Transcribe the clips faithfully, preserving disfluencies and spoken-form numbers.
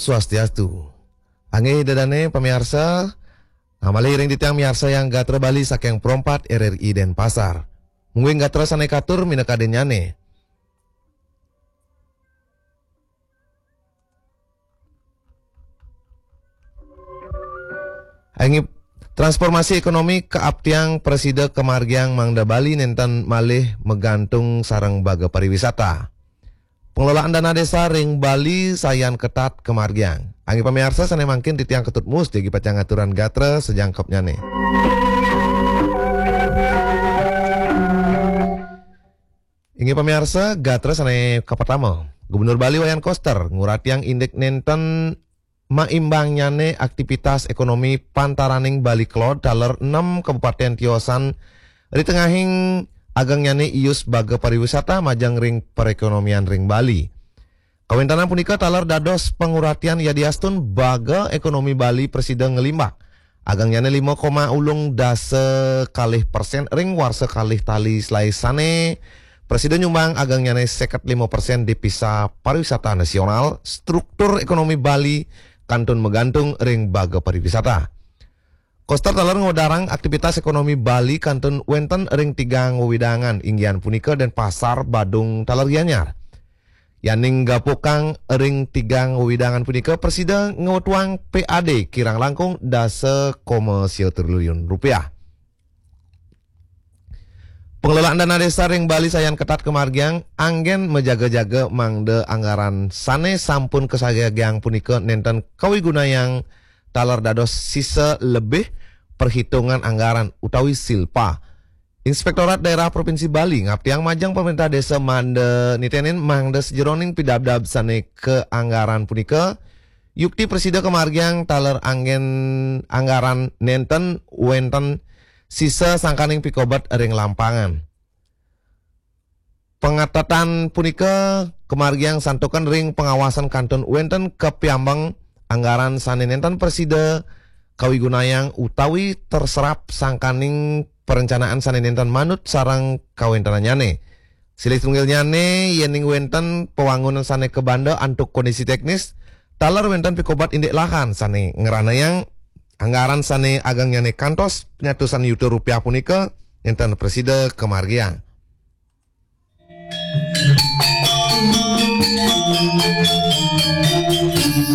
Swastiastu. Inggih ida dané pamiarsa, ngamali ring titiang miarsayang gatra Bali saking Pro empat R R I Denpasar. Mungguing gatra sané katur minakadinyané. Inggih, transformasi ékonomi kaaptiang prasida kamargiang mangda Bali nénten malih magantung sareng baga pariwisata. Pengelolaan dana desa ring Bali sayan ketat kamargiang. Inggih pamiarsa, sané mangkin titiang Ketut Mus jagi pacang ngaturang gatra sajangkepnyané. Inggih pamiarsa, gatra sané kapertama, Gubernur Bali Wayan Koster nguratiang indik nénten maimbangnyané aktivitas ékonomi pantaraning Bali Cloud taler enem kabupatén tiosan ri tengahing agengnyané ius baga pariwisata majeng ring perékonomian ring Bali. Kawéntenan punika taler dados panguratian yadiastun baga ékonomi Bali prasida nglimbak. Agengnyané lima koma ulung dasa kalih persén ring warsa kalih tali selaé sané prasida nyumbang agengnyané seket lima persén devisa pariwisata nasional, struktur ékonomi Bali kantun magantung ring baga pariwisata. Koster taler ngwedarang aktivitas ékonomi Bali kantun wénten ring tigang wewidangan, inggih punika Denpasar, Badung, taler Gianyar. Yaning gapukang ring tigang wewidangan punika prasida ngwetuang P A D kirang langkung dasa koma sia triliun rupiah. Pengelolaan dana desa ring Bali sayan ketat kamargiang, anggén majaga-jaga mangda anggaran sané sampun kasagiang punika nénten kawigunayang taler dados sisa lebih perhitungan anggaran utawi silpa. Inspektorat Daerah Provinsi Bali ngaptiang majeng pemerintah desa mangda nitenin mangda sajeroning pidabdab sané kaanggaran punika, yukti prasida kamargiang taler anggén anggaran nénten wénten sisa sangkaning pikobet ring lampangan. Pangatetan punika kamargiang santukan ring pangawasan kantun wénten kapiambeng anggaran sané nénten prasida kawigunayang utawi terserap sangkaning perencanaan sané nénten manut sareng kawéntenannyané. Silih tunggilnyané, yéning wénten pawangunan sané kabanda antuk kondisi teknis, taler wénten pikobet indik lahan sané ngranayang anggaran sané agengnyané kantos panyatusan yuta rupiah punika nénten prasida kamargiang.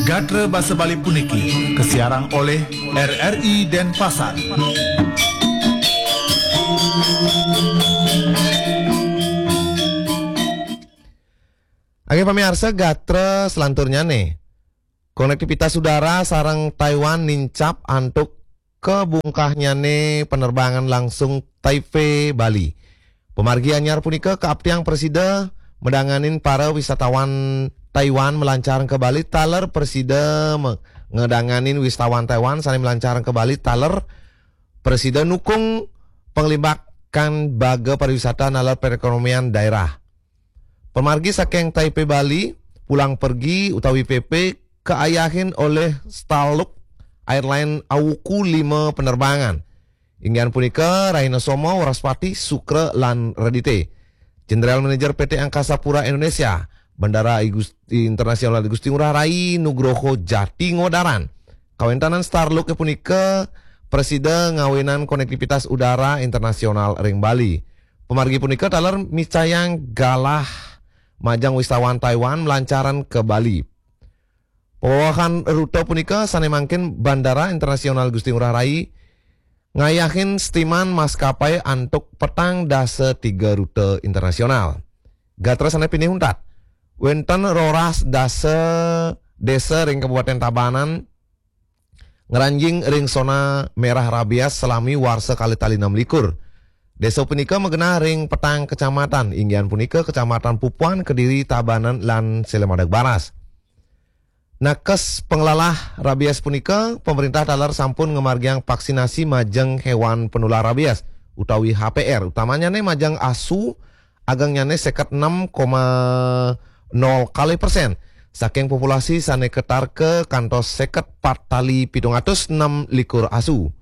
Gatra basa Bali puniki kasiarang olih R R I Denpasar. Inggih pamiarsa, gatra selanturnyané. Konektivitas udara sareng Taiwan nincap antuk kabungkahnyané penerbangan langsung Taipei Bali. Pamargi anyar punika kaaptiang prasida madanganin para wisatawan Taiwan malancarang ka Bali taler prasida me-, ngadanganin wisatawan Taiwan sané malancarang ka Bali taler prasida nukung panglimbakan baga pariwisata naler perekonomian daerah. Pamargi saking Taipei Bali, pulang pergi utawi P P kaayahin olih Starlux Airline awuku lima penerbangan. Inggih punika rahina Soma, Wraspati, Sukra, lan Redité. General Manager P T Angkasa Pura Indonesia, Bandara I Gus-, Internasional I Gusti Ngurah Rai, Nugroho Jati, ngwedarang, kawéntenan Starlux punika prasida ngawinang konektivitas udara internasional ring Bali. Pamargi punika taler micayang galah majeng wisatawan Taiwan malancarang ka Bali. Pawewehan rute punika sané mangkin Bandara Internasional Gusti Ngurah Rai ngayahin setiman maskapai antuk petang dasa tiga rute internasional. Gatra sané pinih untat. Wénten roras dasa désa ring Kabupatén Tabanan ngranjing ring sona merah rabies salami warsa kalih tali enam likur. Désa punika magenah ring petang kecamatan, inggih punika Kecamatan Pupuan, Kediri, Tabanan, lan Sela Madag Baras. Nakes panglalah rabies punika, pamréntah taler sampun ngamargiang vaksinasi majeng héwan panular rabies utawi H P R, utamanyané majeng asu, agengnyané seket enem koma nol kalih persén saking populasi sané katarka kantos seket pat tali pitung atus enam likur asu.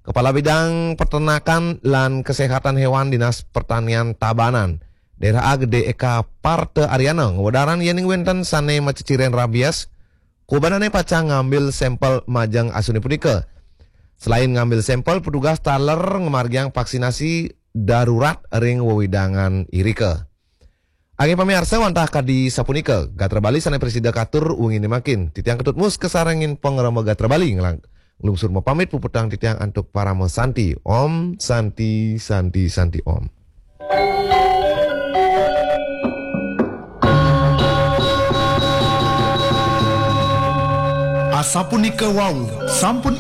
Kepala Bidang Peternakan lan Kesehatan Hewan Dinas Pertanian Tabanan, Dera A Gede Eka Parta Ariana, ngwedarang yéning wénten sané maceciren rabies, Kubanane pacang ngambil sampel majeng asune punika. Selain ngambil sampel, petugas taler ngamargiang vaksinasi darurat ring wewidangan irika. Inggih pamiarsa, wantah kadi sapunika gatra Bali sane prasida katur wengine mangkin. Titiang Ketut Mus kasarengin pangrama gatra Bali nglang-, nglungsur mapamit, puputang titiang antuk parama santi. Om Santi, Santi, Santi Om. Asapunika wau, sampun